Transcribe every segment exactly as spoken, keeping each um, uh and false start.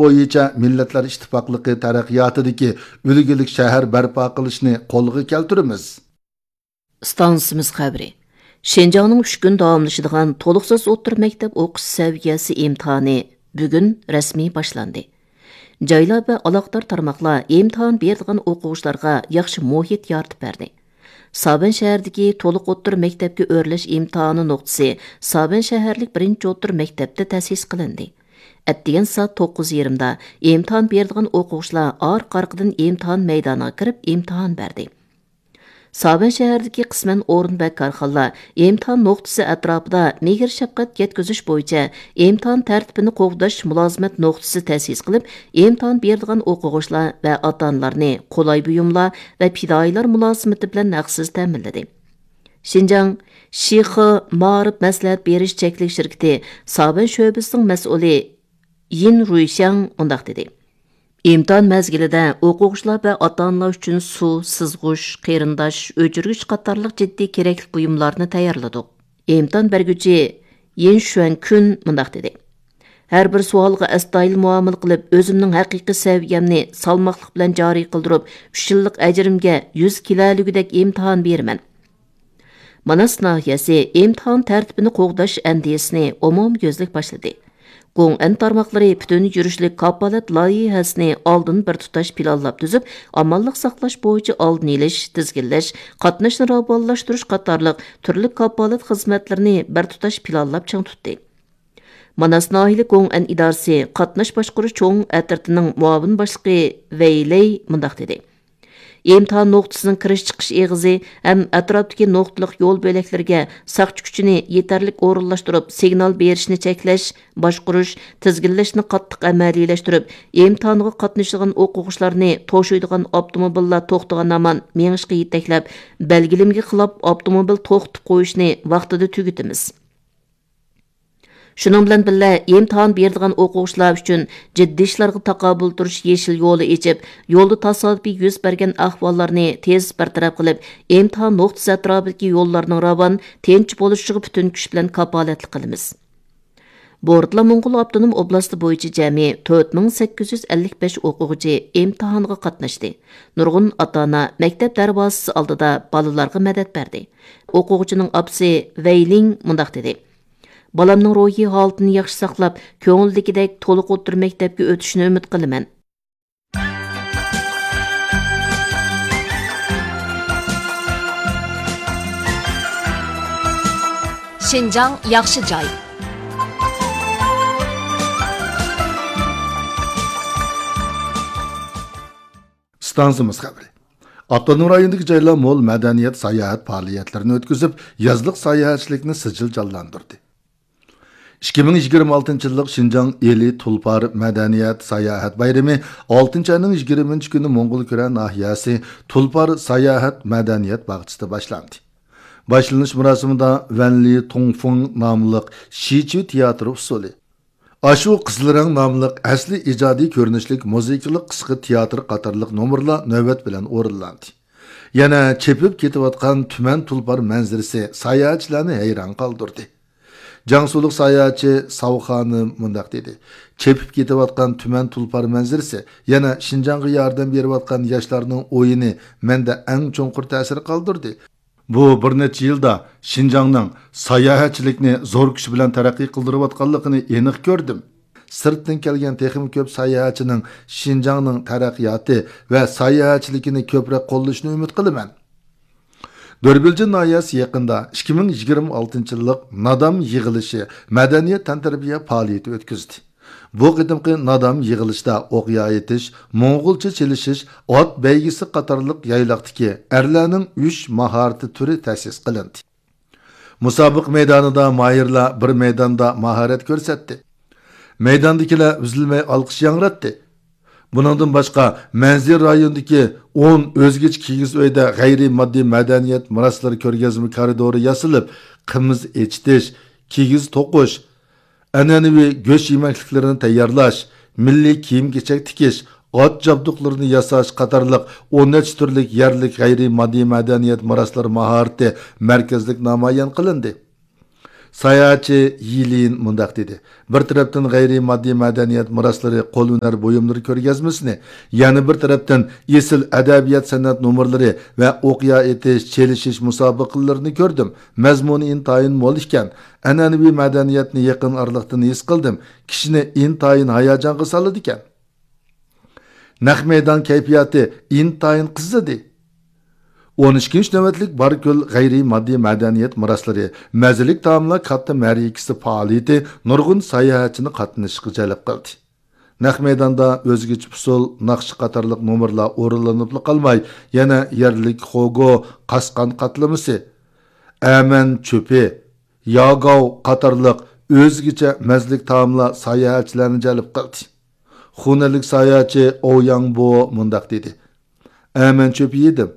بويىچە مىللەتلەر ئىتتىپاقلىقى تەرەققىياتىدىكى ئۈلگىلىك شەھەر بەرپا قىلىشنى قولغا كەلتۈرىمىز. ئىستانسىمىز خەۋىرى. شىنجاڭنىڭ ئۈچ كۈن داۋاملىشىدىغان تولۇقسىز ئوتتۇرا مەكتەپ ئوقۇش سەۋىيەسى ئىمتىھانى بۈگۈن رەسمىي باشلاندى. جايلار ۋە ئالاقىدار تارماقلار ئىمتىھان بېرىدىغان ئوقۇغۇچىلارغا ياخشى مۇھىت يارىتىپ بەردى. سابەن شەھىرىدىكى تولۇق ئوتتۇرا مەكتەپكە ئۆرلەش ئىمتىھانى نۇقتىسى سابەن شەھەرلىك بىرىنچى ئوتتۇرا مەكتەپتە تەسىس قىلىندى. ئەتىگەن سائەت توققۇز يېرىمدا ئىمتىھان بېرىدىغان ئوقۇغۇچىلار ئارقا-ئارقىدىن ئىمتىھان مەيدانىغا كىرىپ ئىمتىھان بەردى. سابەن شەھىرىدىكى قىسمەن ئورۇن ۋە كارخانىلار ئىمتىھان نۇقتىسى ئەتراپىدا مېھىر-شەپقەت يەتكۈزۈش بويىچە ئىمتىھان تەرتىپىنى قوغداش مۇلازىمەت نۇقتىسى تەسىس قىلىپ، ئىمتىھان بېرىدىغان ئوقۇغۇچىلار ۋە ئاتا-ئانىلارنى قولاي بۇيۇملار ۋە پىدائىيلار مۇلازىمىتى بىلەن ھەقسىز تەمىنلىدى. شىنجاڭ شىخې مائارىپ مەسلىھەت بېرىش چەكلىك شىركىتى سابەن شۆبىسىنىڭ مەسئۇلى يىن رۇيشياڭ مۇنداق دېدى: ئىمتىھان مەزگىلىدە ئوقۇغۇچىلار ۋە ئاتا-ئانىلار ئۈچۈن سۇ، سىزغۇچ، قېرىنداش، ئۆچۈرگۈچ قاتارلىق جىددىي كېرەكلىك بۇيۇملارنى تەييارلىدۇق. ئىمتىھان بەرگۈچى يىن شۈەنكۈن مۇنداق دېدى: ھەر بىر سوئالغا ئەستايىدىل مۇئامىلە قىلىپ، ئۆزۈمنىڭ ھەقىقىي سەۋىيەمنى سالماقلىق بىلەن جارى قىلدۇرۇپ، ئۈچ يىللىق ئەجرىمگە يۈز كېلەلىگۈدەك ئىمتىھان بېرىمەن. ماناس ناھىيەسى ئىمتىھان تەرتىپىنى قوغداش ئەندىزىسىنى ئومۇميۈزلۈك باشلىدى. گوڭئەن تارماقلىرى پۈتۈن يۈرۈشلۈك كاپالەت لايىھەسىنى ئالدىن بىر تۇتاش پىلانلاپ تۈزۈپ، ئامانلىق ساقلاش بويىچە ئالدىنى ئېلىش، تىزگىنلەش، قاتناشنى راۋانلاشتۇرۇش قاتارلىق تۈرلۈك كاپالەت خىزمەتلىرىنى بىر تۇتاش پىلانلاپ چىڭ تۇتتى. ماناس ناھىيەلىك گوڭئەن ئىدارىسى قاتناش باشقۇرۇش چوڭ ئەترىتىنىڭ مۇئاۋىن باشلىقى ۋەي لەي مۇنداق دېدى: ئىمتىھان نۇقتىسىنىڭ كىرىش-چىقىش ئېغىزى ھەم ئەتراپتىكى نۇقتىلىق يول بۆلەكلىرىگە ساقچى كۈچىنى يېتەرلىك ئورۇنلاشتۇرۇپ، سىگنال بېرىشنى چەكلەش، باشقۇرۇش، تىزگىنلەشنى قاتتىق ئەمەلىيلەشتۈرۈپ، ئىمتىھانغا قاتنىشىدىغان ئوقۇغۇچىلارنى توشۇيدىغان ئاپتوموبىللار توختىغان ھامان مېڭىشقا يېتەكلەپ، بەلگىلىمىگە خىلاپ ئاپتوموبىل توختىتىپ قويۇشنى ۋاقتىدا تۈگىتىمىز. شۇنىڭ بىلەن بىللە، ئىمتىھان بېرىدىغان ئوقۇغۇچىلار ئۈچۈن جىددىي ئىشلارغا تاقابىل تۇرۇش يېشىل يولى ئېچىپ، يولدا تاسادىپىي يۈز بەرگەن ئەھۋاللارنى تېز بىر تەرەپ قىلىپ، ئىمتىھان نۇقتىسى ئەتراپىدىكى يوللارنىڭ راۋان، تىنچ بولۇشىغا پۈتۈن كۈچ بىلەن كاپالەتلىك قىلىمىز. بورتالا موڭغۇل ئاپتونوم ئوبلاستى بويىچە جەمئىي تۆت مىڭ سەككىز يۈز ئەللىك بەش ئوقۇغۇچى ئىمتىھانغا قاتناشتى. نۇرغۇن ئاتا-ئانا مەكتەپ دەرۋازىسى ئالدىدا بالىلارغا مەدەت بەردى. ئوقۇغۇچىنىڭ ئاپىسى ۋەي لىڭ مۇنداق دېدى: بالامنىڭ روھىي ھالىتىنى ياخشى ساقلاپ، كۆڭۈلدىكىدەك تولۇق ئوتتۇرا مەكتەپكە ئۆتۈشىنى ئۈمىد قىلىمەن. شىنجاڭ ياخشى جاي. ئىستانسىمىز خەۋىرى. ئاپتونوم رايوندىكى جايلار مول مەدەنىيەت، ساياھەت پائالىيەتلىرىنى ئۆتكۈزۈپ، يازلىق ساياھەتچىلىكنى سىجىل جانلاندۇردى. ئىككى مىڭ يىگىرمە ئالتىنچى يىللىق شىنجاڭ ئىلى تۇلپار مەدەنىيەت ساياھەت بايرىمى ئالتىنچى ئاينىڭ يىگىرمىنچى كۈنى موڭغۇلكۈرە ناھىيەسى تۇلپار ساياھەت مەدەنىيەت باغچىسىدا باشلاندى. باشلىنىش مۇراسىمىدا ۋەنلى تۇڭفېڭ ناملىق شىچۈ تىياتىرى ئۇسسۇلى، ئاشۇ قىزىل رەڭ ناملىق ئەسلى ئىجادىي كۆرۈنۈشلۈك مۇزىكىلىق قىسقا تىياتىر قاتارلىق نومۇرلار نۆۋەت بىلەن ئورۇنلاندى. يەنە چېپىپ كېتىۋاتقان تۈمەن تۇلپار مەنزىرىسى ساياھەتچىلەرنى ھەيران قالدۇردى. جياڭسۇلۇق ساياھەتچى ساۋ خانىم مۇنداق دېدى: چېپىپ كېتىۋاتقان تۈمەن تۇلپار مەنزىرىسى يەنە شىنجاڭغا ياردەم بېرىۋاتقان ياشلارنىڭ ئويۇنى مەندە ئەڭ چوڭقۇر تەسىر قالدۇردى. بۇ بىر نەچچە يىلدا شىنجاڭنىڭ ساياھەتچىلىكنى زور كۈچ بىلەن تەرەققىي قىلدۇرۇۋاتقانلىقىنى ئېنىق كۆردۈم. سىرتتىن كەلگەن تېخىمۇ كۆپ ساياھەتچىنىڭ شىنجاڭنىڭ تەرەققىياتى ۋە ساياھەتچىلىكىنى كۆپرەك قوللىشىنى ئۈمىد قىلىمەن. دۆربىلجىن ناھىيەسى يېقىندا ئىككى مىڭ يىگىرمە ئالتىنچى يىللىق نادام يىغىلىشى مەدەنىيەت تەنتەربىيە پائالىيىتى ئۆتكۈزدى. بۇ قېتىمقى نادام يىغىلىشتا ئوق يايىتىش، موڭغۇلچە چېلىشىش، ئات بەيگىسى قاتارلىق يايلاقتىكى ئەرلەرنىڭ ئۈچ ماھارىتى تۈرى تەسىس قىلىندى. مۇسابىقە مەيدانىدا ماھىرلار بىر مەيداندا ماھارەت كۆرسەتتى. مەيداندىكىلەر ئۈزۈلمەي ئالقىش ياڭراتتى. بۇنىڭدىن باشقا، مەنزىرە رايونىدىكى ئون ئۆزگىچە كىگىز ئۆيدە غەيرىي ماددىي مەدەنىيەت مىراسلىرى كۆرگەزمە كارىدورى ياسىلىپ، قىمىز ئېچىتىش، كىگىز توقۇش، ئەنئەنىۋى گۆش يېمەكلىكلىرىنى تەييارلاش، مىللىي كىيىم-كېچەك تىكىش، ئات جابدۇقلىرىنى ياساش قاتارلىق ئون نەچچە تۈرلۈك يەرلىك غەيرىي ماددىي مەدەنىيەت مىراسلىرى ماھارىتى مەركەزلىك نامايان قىلىندى. ساياھەتچى يىلىن مۇنداق دېدى: بىر تەرەپتىن غەيرىي ماددىي مەدەنىيەت مىراسلىرى، قول ھۈنەر بۇيۇملىرى كۆرگەزمىسىنى، يەنە بىر تەرەپتىن ئېسىل ئەدەبىيات سەنئەت نومۇرلىرى ۋە ئوقيا ئېتىش، چېلىشىش مۇسابىقىلىرىنى كۆردۈم. مەزمۇنى ئىنتايىن مول ئىكەن. ئەنئەنىۋى مەدەنىيەتنى يېقىن ئارىلىقتىن ھېس قىلدىم. كىشىنى ئىنتايىن ھاياجانغا سالىدىكەن. نەق مەيدان كەيپىياتى ئىنتايىن قىزىدى. ئون ئىككىنچى نۆۋەتلىك باركۆل غەيرىي ماددىي مەدەنىيەت مىراسلىرى، مەززىلىك تائاملار كاتتا مەرىكىسى پائالىيىتى نۇرغۇن ساياھەتچىنى قاتنىشىشقا جەلپ قىلدى. نەق مەيداندا ئۆزگىچە ئۇسسۇل، ناخشا قاتارلىق نومۇرلار ئورۇنلىنىپلا قالماي، يەنە يەرلىك خوگو، قاسقان قاتلىمىسى، ئەمەن چۆپى، ياگاۋ قاتارلىق ئۆزگىچە مەززىلىك تائاملار ساياھەتچىلەرنى جەلپ قىلدى. خۇنەنلىك ساياھەتچى ئوۋ ياڭبو مۇنداق دېدى: ئەمەن چۆپى يېدىم.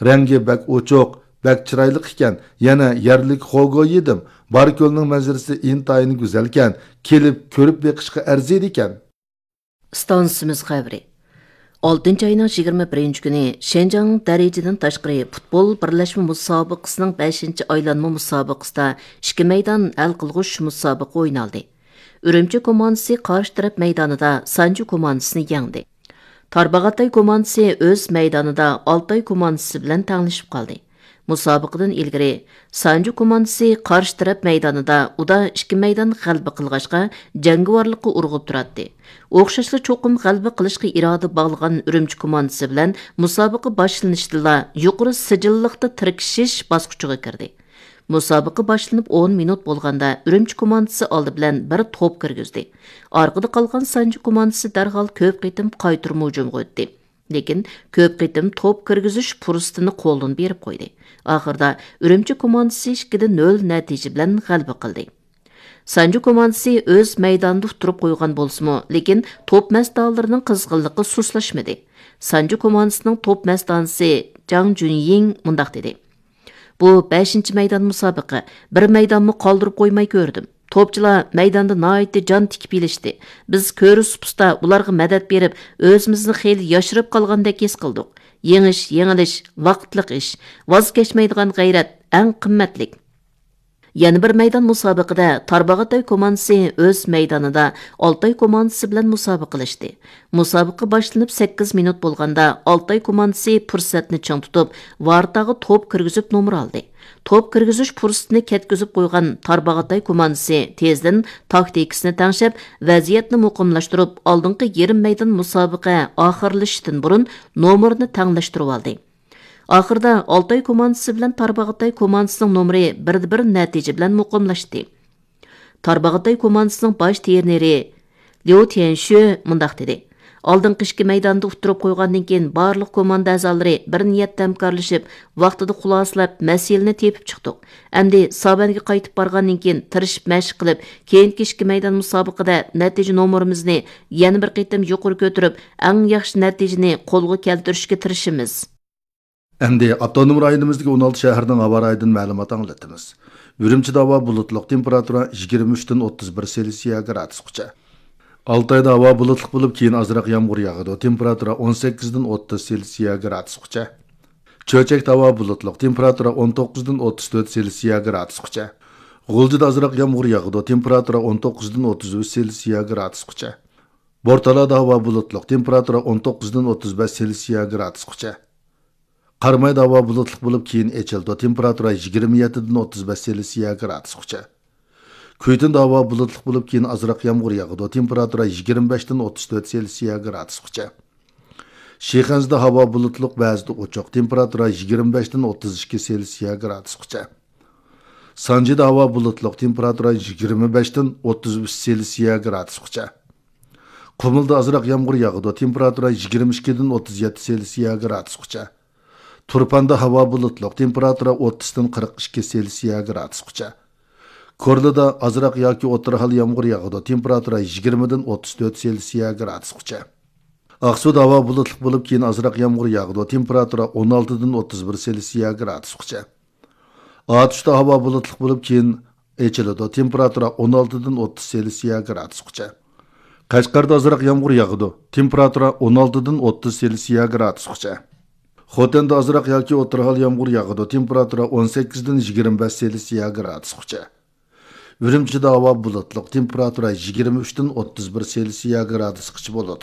رەڭگى بەك ئوچۇق، بەك چىرايلىق ئىكەن. يەنە يەرلىك خوگو يېدىم. باركۆلنىڭ مەنزىرىسى ئىنتايىن گۈزەلكەن. كېلىپ كۆرۈپ بېقىشقا ئەرزىيدىكەن. ئىستانسىمىز خەۋىرى. ئالتىنچى ئاينىڭ يىگىرمە بىرىنچى كۈنى شىنجاڭ دەرىجىدىن تاشقىرى پۇتبول بىرلەشمە مۇسابىقىسىنىڭ بەشىنچى ئايلانما مۇسابىقىسىدا ئىككى مەيدان ھەل قىلغۇچ مۇسابىقە ئوينالدى. ئۈرۈمچى كوماندىسى قارشى تەرەپ مەيدانىدا سانجى كوماندىسىنى يەڭدى. تارباغاتاي كوماندىسى ئۆز مەيدانىدا ئالتاي كوماندىسى بىلەن تەڭلىشىپ قالدى. مۇسابىقىدىن ئىلگىرى سانجى كوماندىسى قارشى تەرەپ مەيدانىدا ئۇدا ئىككى مەيدان غەلىبە قىلغاچقا، جەڭگىۋارلىققا ئۇرغۇپ تۇراتتى. ئوخشاشلا چوقۇم غەلىبە قىلىشقا ئىرادە باغلىغان ئۈرۈمچى كوماندىسى بىلەن مۇسابىقە باشلىنىشتىلا يۇقىرى سىجىللىقتا تىركىشىش باسقۇچىغا كىردى. مۇسابىقە باشلىنىپ ئون مىنۇت بولغاندا ئۈرۈمچى كوماندىسى ئالدى بىلەن بىر توپ كىرگۈزدى. ئارقىدا قالغان سانجى كوماندىسى دەرھال كۆپ قېتىم قايتۇرما ھۇجۇمغا ئۆتتى. لېكىن كۆپ قېتىم توپ كىرگۈزۈش پۇرسىتىنى قولدىن بېرىپ قويدى. ئاخىرىدا ئۈرۈمچى كوماندىسى ئىككىدە نۆل نەتىجە بىلەن غەلىبە قىلدى. سانجى كوماندىسى ئۆز مەيدانىدا ئۇتتۇرۇپ قويغان بولسىمۇ، لېكىن توپ مەستانىلىرىنىڭ قىزغىنلىقى سۇسلاشمىدى. سانجى كوماندىسىنىڭ توپ مەستانىسى جاڭ جۈنيىڭ مۇنداق دېدى: بۇ بەشىنچى مەيدان مۇسابىقە، بىر مەيدانمۇ قالدۇرۇپ قويماي كۆردۈم. توپچىلار مەيداندا ناھايىتى جان تىكىپ ئېلىشتى. بىز كۆرۈس پۇستا ئۇلارغا مەدەت بېرىپ، ئۆزىمىزنى خېلى ياشىرىپ قالغاندەك ھېس قىلدۇق. يېڭىش، يېڭىلىش ۋاقىتلىق ئىش. ۋاز كەچمەيدىغان غەيرەت ئەڭ قىممەتلىك. يەنە بىر مەيدان مۇسابىقىدە تارباغاتاي كوماندىسى ئۆز مەيدانىدا ئالتاي كوماندىسى بىلەن مۇسابىقىلەشتى. مۇسابىقە باشلىنىپ سەككىز مىنۇت بولغاندا، ئالتاي كوماندىسى پۇرسەتنى چىڭ تۇتۇپ، ۋارتاغا توپ كىرگۈزۈپ نومۇر ئالدى. توپ كىرگۈزۈش پۇرسىتىنى كەتكۈزۈپ قويغان تارباغاتاي كوماندىسى تېزدىن تاكتىكىسىنى تەڭشەپ، ۋەزىيەتنى مۇقىملاشتۇرۇپ، ئالدىنقى يېرىم مەيدان مۇسابىقە ئاخىرلىشىشتىن بۇرۇن نومۇرنى تەڭلەشتۈرۈۋالدى. ئاخىرىدا ئالتاي كوماندىسى بىلەن تارباغاتاي كوماندىسىنىڭ نومۇرى بىردە بىر نەتىجە بىلەن مۇقىملاشتى. تارباغاتاي كوماندىسىنىڭ باش ترېنېرى ليۇ تيەنشۈ مۇنداق دېدى: ئالدىنقى ئىككى مەيداندا ئۇتتۇرۇپ قويغاندىن كېيىن، بارلىق كوماندا ئەزالىرى بىر نىيەتتە ھەمكارلىشىپ، ۋاقتىدا خۇلاسىلەپ، مەسىلىنى تېپىپ چىقتۇق. ئەمدى سابەنگە قايتىپ بارغاندىن كېيىن، تىرىشىپ مەشىق قىلىپ، كېيىنكى ئىككى مەيدان مۇسابىقىدە نەتىجە نومۇرىمىزنى يەنە بىر قېتىم يۇقىرى كۆتۈرۈپ، ئەڭ ياخشى نەتىجىنى قولغا كەلتۈرۈشكە تىرىشىمىز. ئەمدى ئاپتونوم رايونىمىزدىكى ئون ئالتە شەھەرنىڭ ھاۋا رايىدىن مەلۇمات ئاڭلىتىمىز. ئۈرۈمچىدە ھاۋا بۇلۇتلۇق، تېمپېراتۇرا يىگىرمە ئۈچتىن ئوتتۇز بىر سېلسىيە گرادۇسقىچە. ئالتايدا ھاۋا بۇلۇتلۇق بولۇپ، كېيىن ئازراق يامغۇر ياغىدۇ، تېمپېراتۇرا ئون سەككىزدىن ئوتتۇز سېلسىيە گرادۇسقىچە. چۆچەكتە ھاۋا بۇلۇتلۇق، تېمپېراتۇرا ئون توققۇزدىن ئوتتۇز تۆت سېلسىيە گرادۇسقىچە. غۇلجىدا ئازراق يامغۇر ياغىدۇ، تېمپېراتۇرا ئون توققۇزدىن ئوتتۇز ئۈچ سېلسىيە گرادۇسقىچە. بورتالادا ھاۋا بۇلۇتلۇق، تېمپېراتۇرا ئون توققۇزدىن ئوتتۇز بەش سېلسىيە گرادۇسقىچە. قارامايدا ھاۋا بۇلۇتلۇق بولۇپ، كېيىن ئېچىلىدۇ، تېمپېراتۇرا يىگىرمە يەتتىدىن ئوتتۇز بەش سېلسىيە گرادۇسقىچە. كۈيتۇندا ھاۋا بۇلۇتلۇق بولۇپ، كېيىن ئازراق يامغۇر ياغىدۇ، تېمپېراتۇرا يىگىرمە بەشتىن ئوتتۇز تۆت سېلسىيە گرادۇسقىچە. شىخەنزىدە ھاۋا بۇلۇتلۇق، بەزىدە ئوچۇق، تېمپېراتۇرا يىگىرمە بەشتىن ئوتتۇز ئىككى سېلسىيە گرادۇسقىچە. سانجىدا ھاۋا بۇلۇتلۇق، تېمپېراتۇرا يىگىرمە بەشتىن ئوتتۇز ئۈچ سېلسىيە گرادۇسقىچە. قۇمۇلدا ئازراق يامغۇر ياغىدۇ، تېمپېراتۇرا يىگىرمە ئىككىدىن ئوتتۇز يەتتە سېلسىيە گرادۇسقىچە. تۇرپاندا ھاۋا بۇلۇتلۇق، تېمپېراتۇرا ئوتتۇزدىن قىرىق ئىككى سېلسىيە گرادۇسقىچە. كورلىدا ئازراق ياكى ئوتتۇرا ھال يامغۇر ياغىدۇ، تېمپېراتۇرا يىگىرمىدىن ئوتتۇز تۆت سېلسىيە گرادۇسقىچە. ئاقسۇدا ھاۋا بۇلۇتلۇق بولۇپ، كېيىن ئازراق يامغۇر ياغىدۇ، تېمپېراتۇرا ئون ئالتىدىن ئوتتۇز بىر سېلسىيە گرادۇسقىچە. ئاتۇشتا ھاۋا بۇلۇتلۇق بولۇپ، كېيىن ئېچىلىدۇ، تېمپېراتۇرا ئون ئالتىدىن ئوتتۇز سېلسىيە گرادۇسقىچە. قەشقەردە ئازراق يامغۇر ياغىدۇ، تېمپېراتۇرا ئون ئالتىدىن ئوتتۇز سېلسىيە گرادۇسقىچە. خوتەندە ئازراق ياكى ئوتتۇرا ھال يامغۇر ياغىدۇ، تېمپېراتۇرا ئون سەككىزدىن يىگىرمە بەش سېلسىيە گرادۇسقىچە. ئۈرۈمچىدە ھاۋا بۇلۇتلۇق، تېمپېراتۇرا يىگىرمە ئۈچتىن ئوتتۇز بىر سېلسىيە گرادۇسقىچە بولىدۇ.